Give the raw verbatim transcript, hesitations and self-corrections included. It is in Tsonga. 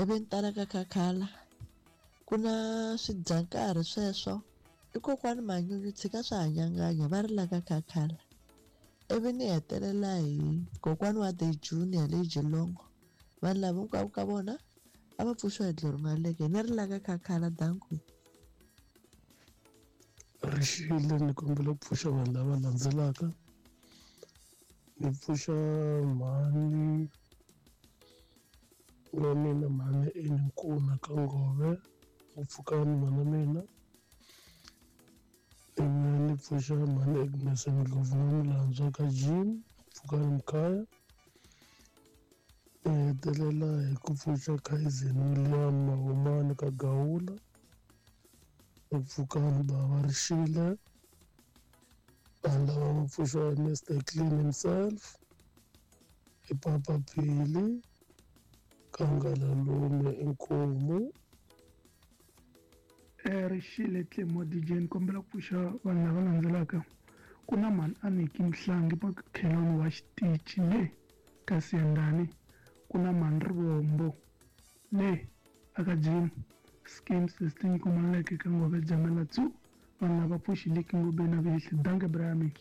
Ivi ni tala ka Khakhala ku na swidyankarhi sweswo i kokwani Manyunyu tshika swa hanyanganya va ri la ka Khakhala. Ivi ni hetelela hi kokwani wa The Junior le Geelong. Vanhu lava hinkwavo ka vona a va pfuxiwa hi Glory Maleke ni ri la ka Khakhala danko. Rixile ni kombela ku pfuxa vanhu lava landzelaka. Ni pfuxa mhani wa mina mhani Eni Nkuna ka Ngove u pfukani mhana mina. Ivi ni pfuxa mhani Agnes Ndlovu N'wamulandzwa ka Jim pfukani Mkhaya. Ni hetelela hi ku pfuxa Kaizen William Mahumani ka Gawula. Ni pfukani bava Rixile. Vanhu lava va pfuxiwa hi Mister Clean himself i Papa Phili Kangalalume Inkomu. Rixile Tlemo D J, ni kombela ku pfuxa vanhu lava landzelaka. Ku na mhani Aniki Mhlangi makhelwani wa xitichi le ka Siyandhani. Ku na mhani Rivombo le aka Jim schemes leti nyikiweke ka Ngove Jamela tsu. Vanhu lava pfuxileki Ngobeni na Vihli. Danke Brian.